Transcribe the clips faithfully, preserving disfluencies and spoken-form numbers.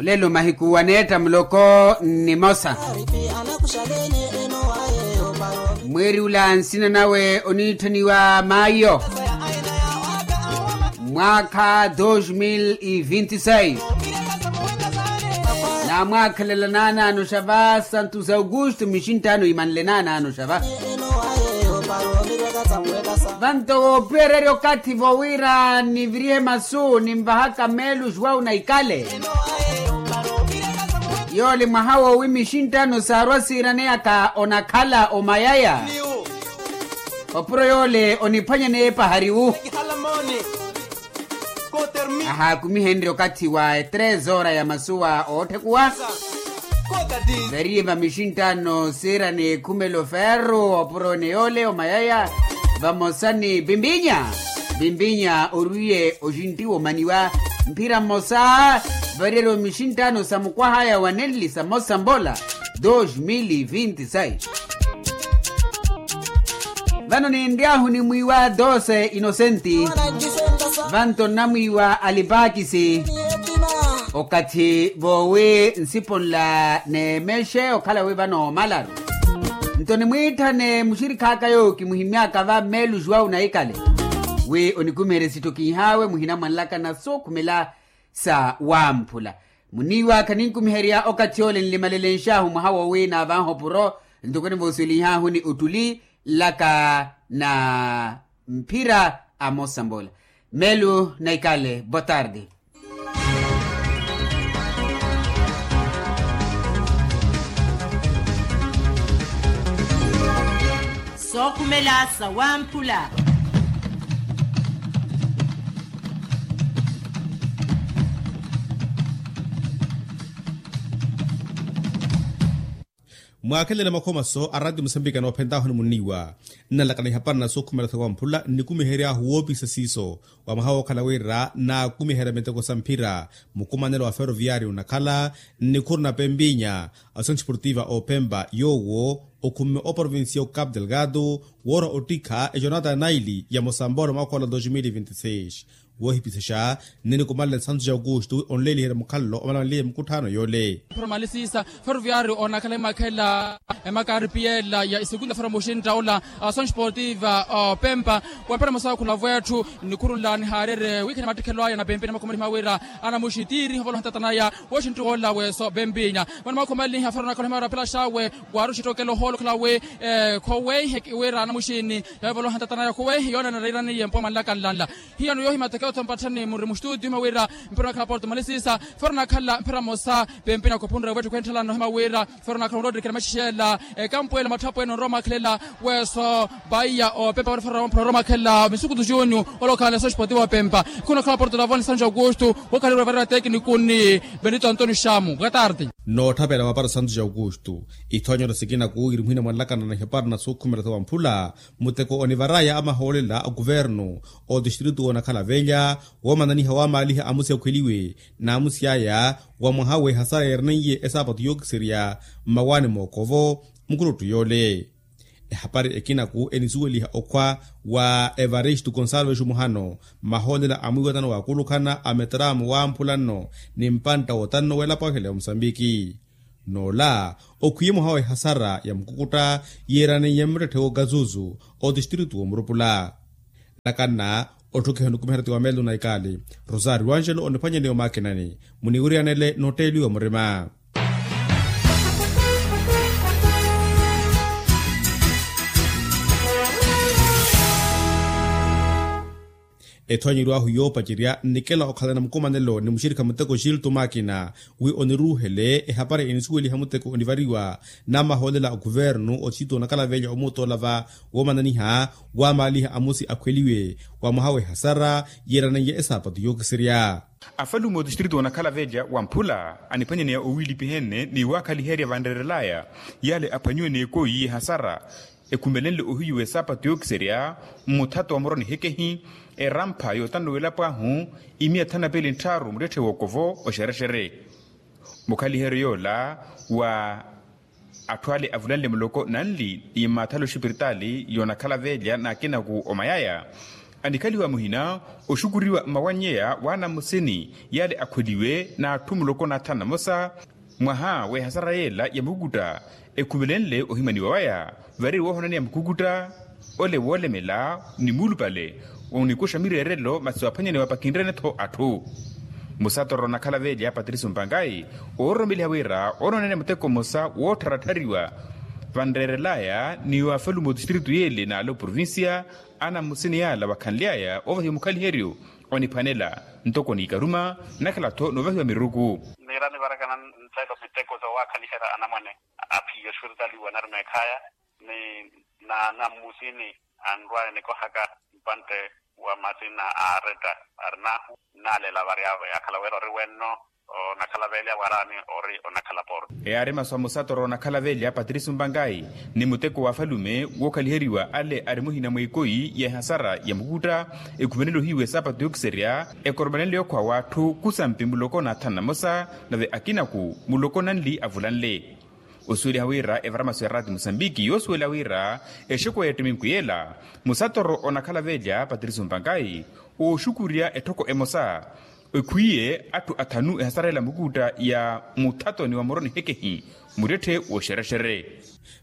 Olelo mahiku waneetta muloko nnimosa. Mwiiri ula nsina nawe oniitthaniwa mayo, mwaakha dos mil e vinti seis. Namwaakhelela naanaano xa va santos augusto mixinttaano imanle naanaano xa va. Vanto woopihererya okathi vowira nivirihe masu ninvahaka meelu juwau na ikale. Yoole mwaha woowi mixinttaano saarwa siiraneyaka onakhala omayaya. Opuro yoole oniphwanyaneya epahariwu. Ahaakumihenrye okathi wa etreze ora ya masuwa ootthe kuwa. Variye va mixinttaano siira n'ekhumelo ferro opuro ene yoole omayaya. Vamosa ni pimpinya. Pimpinya orwiye oxintti womaniwa mphira mmosa. Variyeryo mixinttaano sa mukwahaya wa nenli sa mosa mbola. Dos mil e vinti seis. Vano ninry'ahu nimwiiwa dose inosenti. Vanto nnamwiiwa alipakisi. Okathi voowi nsipo nla neemexe okhala wi vano omalaru. Nto nimwiitthane muxirikhaaka yoowo kimuhimy'aka va mmeelu juwau na ikale, wi onikumiherye sitthu kinhaawe muhina mwanlaka na sookhumela sa wamphula. Muniiwa khaninkumiherya okathi ole nlimalelenx'ahu mwaha woowi naavanha opuro. Ntoko nivooswelinh'ahu ni ottuli nlaka na mphira a mosambola. Mmeelu na ikale boa tarde. Sookhumela sa wamphula. Mwaakhelele makhomaso a ratio musambiki anoophent'ahu ni munniiwa. Nnalakana ihapari na sookhumela sa wamphula nnikumihery'ahu woopisa siiso wa mwaha wookhala wira naakumiherya miteko sa mphira. Mukumanelo wa ferroviario onakhala nnikhuru na pempinya, asono esportiva opempa yoowo okhumme oprovincia ocapo delgado woora ottikha ejonata naili ya mosambolo mwaakhola dos mil e vinti seis. Woohipisexa nninikumanle santos augusto onleeliherya mukhalelo omalanliye mukutthaano yoole. Mphira malisisa ferroviario onakhala imakhela emakaripiela ya isikunda fera muxintta ola. Asono esportiva opempa wempera mosa okhula vwetthu nnikhurula nihaarerye wiikhani mattikhelo aya na pempinya makhomalihima wira anamuxi tiiriha ovoloha ntatanaya. Wooxintti woola weeso pempinya vano makhomalihima fera onakhala ohimara pelaxawe waaru oxittookela ohoolo okhala wi khoweihe wira anamuxini yavoloha ntatanaya khoweihe yoona nariiraniye mpuwa manlaka nlanla. Hiyano yoohimya teke otho mpatthani muri muxituutiyo himya wira mpira onakhala porto malisisa fera onakhala mphira mosa pempinya kopunre wetthu khwentthalano himya wira fera onakhala onroottikela maxixela ekampu ela matthapwene onrowa omakhelela weeso paiya opempa fera onrowa omakhelela misukutu junio olokhala eso esportivo opempa khunakhala porto lavoni santo augusto. Wokhaleriwa varira teknikuni benito antonio xamu boa tarde. Nootthapela mapara santo augusto ithonyero sikina kuwiri muhina mwanlakana na ihapari na sookhumela sa wamphula muteko onivaraya amahoolela a kuvernu otistritu woonakhala velya woomananiha waamaaliha amusi akhweliwe n'amusi aya wa mwaha w'ehasara yeeraneiye esaapatu yookiserya mmawaani mookovo mukuluttu yoole. Ehapari ekinaku enisuweliha okhwa wa evaristo gonsalves muhano mmahoolela a mwiiwatano waakhulukhana a metramo wamphula nno ni mpantta wotanno w'elapo ahela ya musambiki. N'ola okhwiye mwaha w'ehasara ya mukukutta yeeraneiye mmuttette w'okazuzu otistritu w'omurupula. Nakanna otthukhiha onikumiherya ti wa melo na ikali rosario angelo oniphwanyaneya omaakinani muniwiriyanele nootteeliwa murima. Ethonyeryo ahu yoopacerya nnikela okhalana mukumanelo ni muxirikha muteko gilto makina wi oniruuhele ehapari enisuweliha muteko onivariwa n'amahoolela a kuvernu otistritu onakhala velya omuuttoola va woomananiha waamaaliha amusi akhweliwe wa mwaha w'ehasara yeeraneiye esaapatu yookiserya. Afalume otistritu onakhala velya wamphula aniphwanyaneya owiilipihene ni waakhaliherya vanreerelaya yale aphwanyiwe n'ekoyi y'ehasara ekhumelenle ohiyu w'esaapatu yookiserya mmuthato wa muroni hekehi erampha yootanno w'elapo ahu imiya thanu na piili ntthaaru muttetthe w'okovo oxerexere. Mukhaliheryo yoola wa atthu ale avulanle muloko nanli ni mmaathala oxipiritaali yoonakhala velya n'akinaku omayaya Anikhaliwa muhina oxukuriwa mmawannyeya w'anamusini yale akhweliwe n'atthu muloko n'athanu namosa mwaha w'ehasara yela ya mukukutta, ekhumelenle ohimaniwa waya vari woohonaneya mukukutta ole woolemela ni muulupale onikuxa mireerelo masi waaphwanyaniwa pakinrene-tho atthu. Musatoro onakhala velya patricio mpankayi oororomeliha wira oonooneneya muteko mmosa woottharattariwa vanreerelaya ni waafalume otistritu yele n'ale oprovincia. Anamusini yala wakhanly'aya oovahiwa mukhaliheryo oniphwanela ntoko n'ikaruma nakhala-tho noovahiwa miruku. Niira nivarakana nttelo miteko soowaakhaliherya anamwane aphiya oxuritaliwa narumeekhaya ni naanamusini anrwaya nikohaka mpantte wa masina a aretta arinahu. Nnaaleela vari avo yaakhala wira ori wenno onakhala velya waraani ori onakhala porto. Eyaari masu a musatoro onakhala velya patricio mpankayi ni muteko w'afalume wookhaliheriwa ale ari muhina mwa ikoyi y'ehasara ya mukukutta ekhumenele ohiiwa esaapatu yookiserya ekoromanenle yookhwa w'atthu khusampi muloko n'athanu namosa nave akinaku muloko nanli avulanle. Osuweliha wira evara masu ya raati musambiki yoosuwela wira exeku ya ettiminku yela musatoro onakhala velya patricio mpankayi ooxukurya etthoko emosa ekhwiye atthu athanu ehasarela mukutta ya muthatoni wa muroni hekehi muttetthe wooxerexere.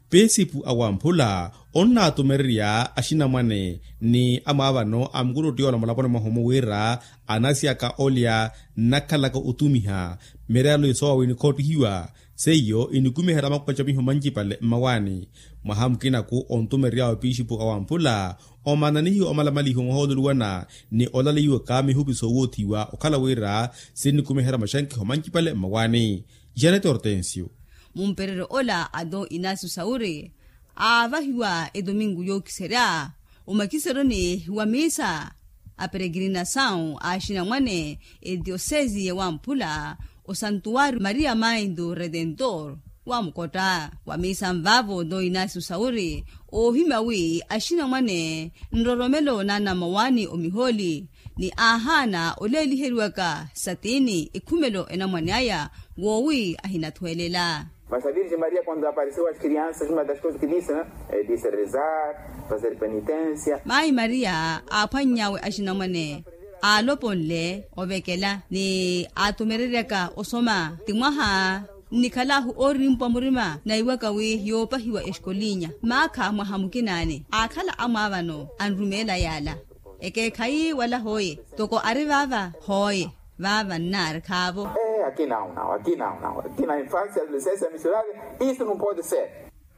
Pisipu awamphula onnaatumererya axinamwane ni amwaavano a mukuluttiyola mulaponi mwahomu wira anasiyaka olya nnakhalaka otumiha mireyalo isoowa wi nikhoottihiwa seiyo inikumiherya makopacamiho mancipale mmawaani. Mwaha mukinaku ontumerery'awe pixipu awamphula omananihiwa omalamalihiwa mwaha oluluwana ni olaleiwaka mihupi soowoothiwa okhala wira sinikumiherya maxankiho mancipale mmawaani. Janete hortensio. Mumpereryo ola a don inasio sauri aavahiwa etominku yookiserya omakiseroni wa miisa a peregrinasawu a axinamwane etiosesi ya wamphula osantuwari maria mainto retentor wa mukotta wa miisa nvaavo don inasio sauri oohimya wi axinamwane nroromelo naana mmawaani omihooli ni aahaana oleeliheriwaka satini ekhumelo enamwane aya woowi ahinathwelela. Mas a virgem maria quando apareceu as crianças uma das coisas que disse né disse rezar, fazer penitência. Mayi maria aaphwanny'awe axinamwane aaloponle ovekela ni aatumereryaka osoma ti mwaha nnikhalahu oorimpwa murima naiwaka wi yoopahiwa exikolinya maakha mwaha mukinaani aakhala amwaavano anrumeela yaala. Ekeekhayi wala hooye toko ari vaava hooye vaava nnaari khaavo. Akina unao akina unao akina infancia adolescencia missionaria. Isu numpode ser.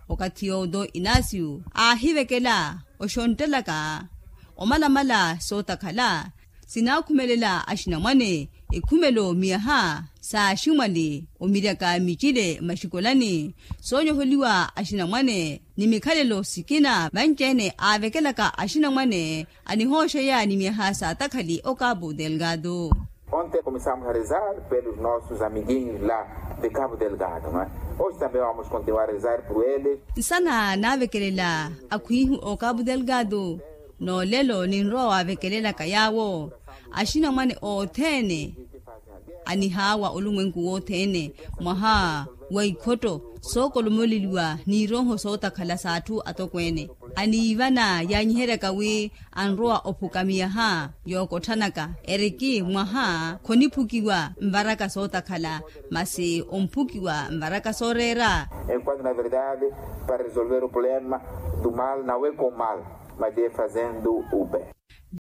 Okathi yoowo don inasio aahivekela oxonttelaka omalamala sootakhala sinaakhumelela axinamwane ekhumelo miyaha saaximwali omiryaka micile maxikoolani soonyoholiwa axinamwane ni mikhalelo sikina vanci-ene aavekelaka axinamwane anihooxeya ni miyaha saatakhali okapu delgado. Onte começamos a rezar pelos nossos amiguinhos la de capu delgado. Hoje também vamos continuar a rezar por eles. Nsana naavekelela akhwiihu okapu delgado noolelo ninrowa waavekelelaka yaawo axinamwane othene anihaawa olumwenku wothene mwaha wa ikhotto sookolomoleliwa n'irooho sootakhala s'atthu atokweene aniivana yaanyiheryaka wi anrowa ophuka miyaha yookotthanaka eriki mwaha khoniphukiwa nvaraka sootakhala masi omphukiwa nvaraka sooreera. Enquanto na verdade para resolver o problema do mal não é com mal mas é fazendo o bem.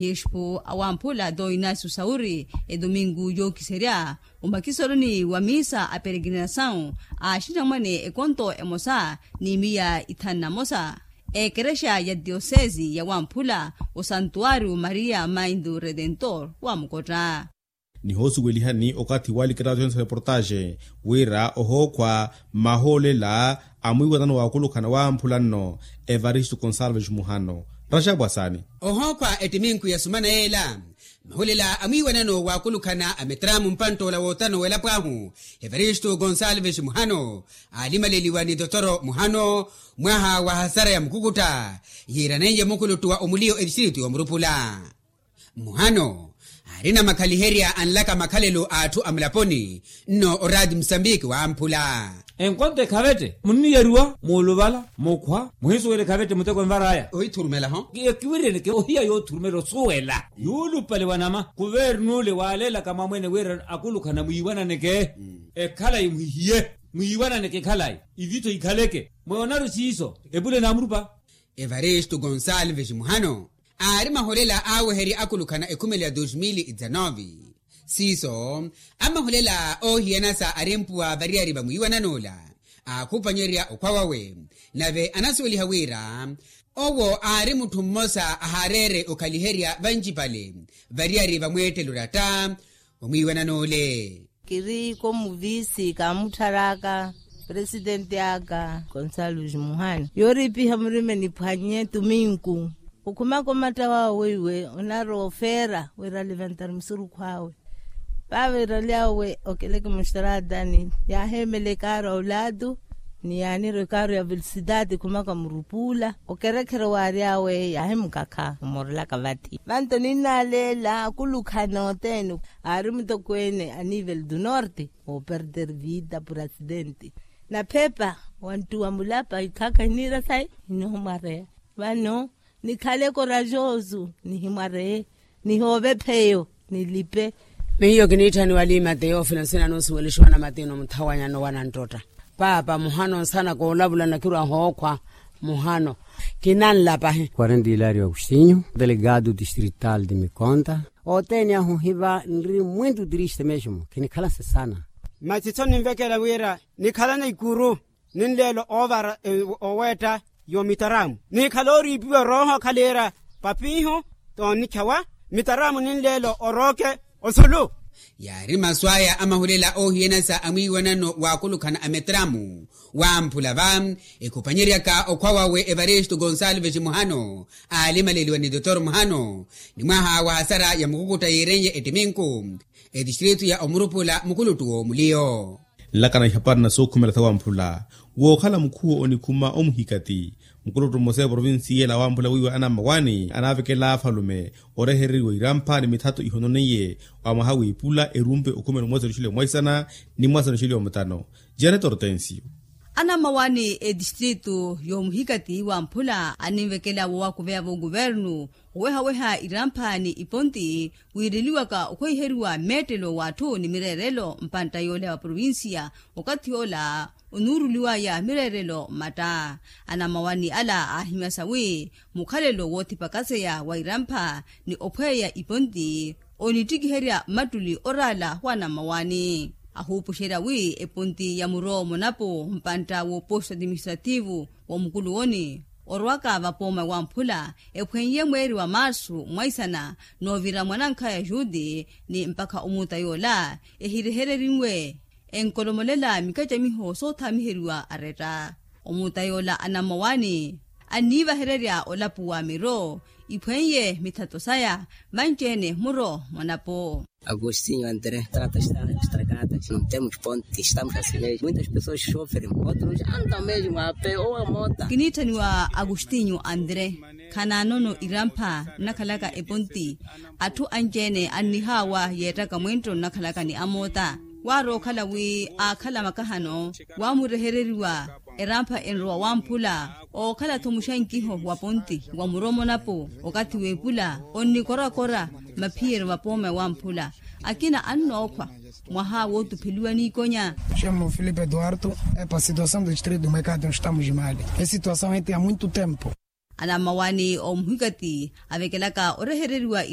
Bispu awamphula don inasio sauri etominku yookiserya omakiseroni wa miisa a peregrinasawu a axinamwane ekonto emosa ni miya ithanu na mosa ekerexa ya tiosesi ya wamphula osantuwario maria mainto retentor wa mukotta. Nihoosuwelihani okathi walikira athu ense reportaxe wira ohookhwa mahoolela a mwiiwanano waakulukhana wamphula nno evaristo gonsalves muhano. Raxapu asaani. Ohookhwa ettiminku ya sumana yeela mahoolela a mwiiwanano waakulukhana a metramu mpanttoola wootano w'elapo ahu evaristo gonsalves muhano aalimaleliwa ni totoro muhano mwaha wa hasara ya mukukutta yiiraneiye mukuluttu wa omuliyo etistritu y'omurupula. Muhano Arina makhaliherya anlaka makhalelo a atthu a mulaponi. Nno oraati musambiki wamphula. Enkonto ekhavette munniyeriwa muuluvala mukhwa muhinsuwela ekhavette muteko envar'aya ohithurumela-ho. Ekiwiriyeleke ohiya yoothurumela osuwela yuulupale wa nama kuvernule waaleelaka mwamwene wira akulukhana mwiiwananeke. Ekhalayi mwihiye mwiiwananeke ekhalayi ivitho ikhaleke mwe onaru siiso epule n'amurupa. Evaristo gonsalves muhano aari maholela aaweherya akulukhana ekhumelo ya dos mil e dezanove. Siiso amaholela oohiyana sa arimpuwa variyari va mwiiwanan'ula aakhupanyerya okhwa wawe. Nave anasuweliha wira owo aari mutthu mmosa ahaareere okhaliherya vancipale variyari va mweettelo oratta wa mwiiwanan'ule. Kiri komuvisi kaamutthar'aka presidenti aka gonsalves muhana yooriipiha murime niphwanye tuminku. Okhumaka omatta wawe weiwe onarowa ofeera wira alivantar musurukhu awe. Vavirali awe okeleke muxtratani yaaheemela ekaaru ya olatu ni yaanirwa ekaaru ya velosidati khumaka murupuula okerekherya waari awe yaahimukakha omorelaka vathi vanto ninnaaleela akulukhana othene. Aari mutokweene a nivel du norte ooperder vida pur asidenti naphepa wanttuwa mulapa ikhaka hiniira sayi. Nihimwareya vano nikhale korajosu nihimwareye nihoove pheyo nilipe. Miyo kiniitthaniwa liimate yoofina nsina noosuwelixiwa namatino muthawanyano wananttotta paapa muhano nsana koolavula nakirwa hookhwa muhano kinanlapahi. Quarenta hilario agostinho delegado distrital de mikonta. Othene ahu hiva nri mwintu triste mesmo khinikhalanse sana. Masi tho ninvekela wira nikhalana ikuru ninleelo oovara oweetta yoomitaramu nikhala ooriipiwa orooho okhaliira papiihu toonnikhawa mitaramu ninleelo orooke osulu. Yaari masu aya amahulela oohiyanasa a mwiiwanano waakulukhana a mitaramu wamphula va ekhupanyeryaka okhwa wawe evaristo gonsalves muhano aalimaleliwa ni dotor muhano ni mwaha wa hasara ya mukukutta yiirenye ettiminku etistritu ya omurupula mukuluttu w'omuliyo. Nlakana ihaparina sookhumela sa wamphula wookhala mukhuwo onikhuma omuhikati mukuluttu mmosa eprovinsi yeela wamphula wiiwa anammawaani anaavekela afalume orehereriwa irampha ni mithato ihononeiye wa mwaha w'iphula erumpe okhumela omwasani oxili omwaisana ni mwasani oxili omutano. Janet ortensio. Anammawaani etistritu yoomuhikati wamphula aninvekela woowakuveya v'okuvernu owehaweha irampha ni iponti wiireliwaka okhweiheriwa mmeettelo w'atthu ni mireerelo mpantta yoole wa provinsiya okathi yoola onuuruliwaya mireerelo mmatta. Anamawani ala aahimyasa wi mukhalelo woothipakaseya wa irampha ni ophweeya iponti onittikiherya mmattuli oraala wa anamawani ahuupuxerya wi eponti ya muro monapo mpantta w'oposto administrativu w'omukuluwoni orwaka vapooma wamphula ephweiye mweeri wa marsu mwaisana noovira mwanankhaya juti ni mpakha omuuta yoola ehirehererinwe enkolomolela mikacamiho soothamiheriwa aretta omuuta yoola anammawaani anniivahererya olapu wa miro iphweiye mithato saya vanci-ene muro mwanapo. Agostinho andré trata está estragada não temos ponte estamos a ser mesmo muitas pessoas sofrem outros andam mesmo a pé ou a mota. Kiniitthaniwa agostinho andré khanaanono irampha nnakhalaka eponti atthu anci-ene annihaawa yeettaka mwinttho nnakhalaka ni amoota waarookhala wi aakhala makahano waamurehereriwa erampha enrowa wamphula ookhala-tho muxankiho wa ponti wa muromonapo okathi w'epula onnikorakora maphiyeryo vapooma wamphula akina annookhwa mwaha wootupheliwa n'ikonya. Chamo filipe eduardo epa situação do distrito do mercado no estamos mali e situação ente ya muito tempo. Anammawaani omuhikati avekelaka orehereriwa